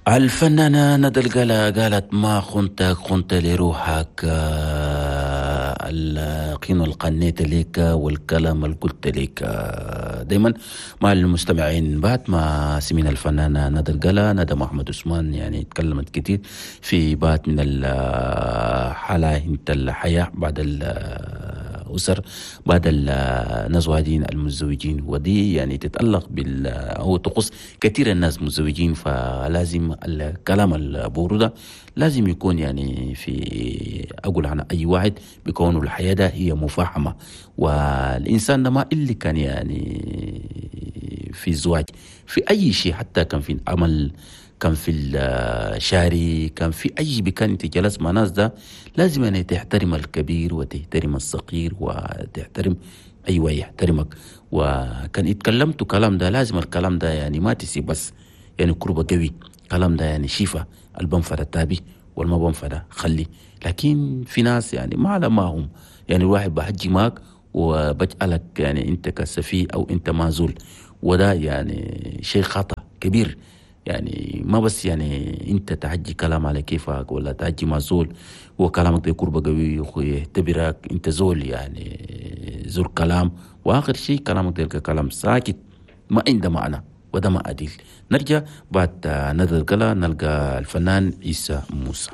الفنانة ندى القلا قالت ما خنتك خنت لروحك، القيمة اللي قنيت لك والكلام اللي قلت لك. دايما مع المستمعين بعد ما سمينا الفنانة ندى القلا، ندى محمد عثمان يعني تكلمت كتير في بعض من الحالة الحياة بعد الأسر، بعد النزواجين المتزوجين، ودي يعني تتعلق بال أو تخص كثير الناس متزوجين، فلازم الكلام البورو ده لازم يكون يعني في أقول عن أي واحد بيكون الحياة ده هي مفاهمة، والإنسان ده ما اللي كان يعني في الزواج في أي شيء، حتى كان في العمل، كان في الشاري، كان في أي مكان أنت جلس مع ناس ده لازم يعني تحترم الكبير وتحترم الصغير وتحترم أيوة يحترمك. وكان اتكلمت كلام ده لازم الكلام ده يعني ما تسيب بس يعني كربة قوي، كلام ده يعني شيفة البنفر التابي والما بنفر خلي. لكن في ناس يعني ما على ما هم يعني الواحد بحجي معك وبجعلك يعني أنت كسفي أو أنت معزول، وده يعني شيء خطأ كبير. يعني ما بس يعني انت تحجي كلام على كيفك ولا تحجي مع زول وكلامك ده كربة قوي ويعتبرك انت زول يعني زول كلام، واخر شيء كلامك ده كلام ساكت ما عنده معنى وده ما عديل. نرجع بعد ندى القلا نلقى الفنان عيسى موسى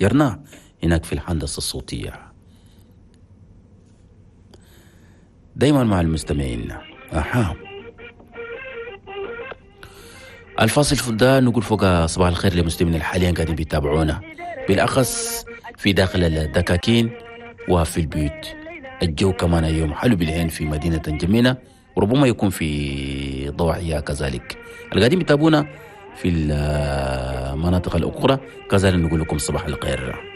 يرنا هناك في الهندسة الصوتية دايما مع المستمعين. أها الفاصل ده نقول فوق صباح الخير للمستمعين حاليا قاعدين بيتابعونا بالأخص في داخل الدكاكين وفي البيوت. الجو كمان يوم حلو بالعين في مدينة جميلة وربما يكون في ضواحيها كذلك. اللي قاعدين بيتابعونا في المناطق الأخرى كذلك نقول لكم صباح الخير.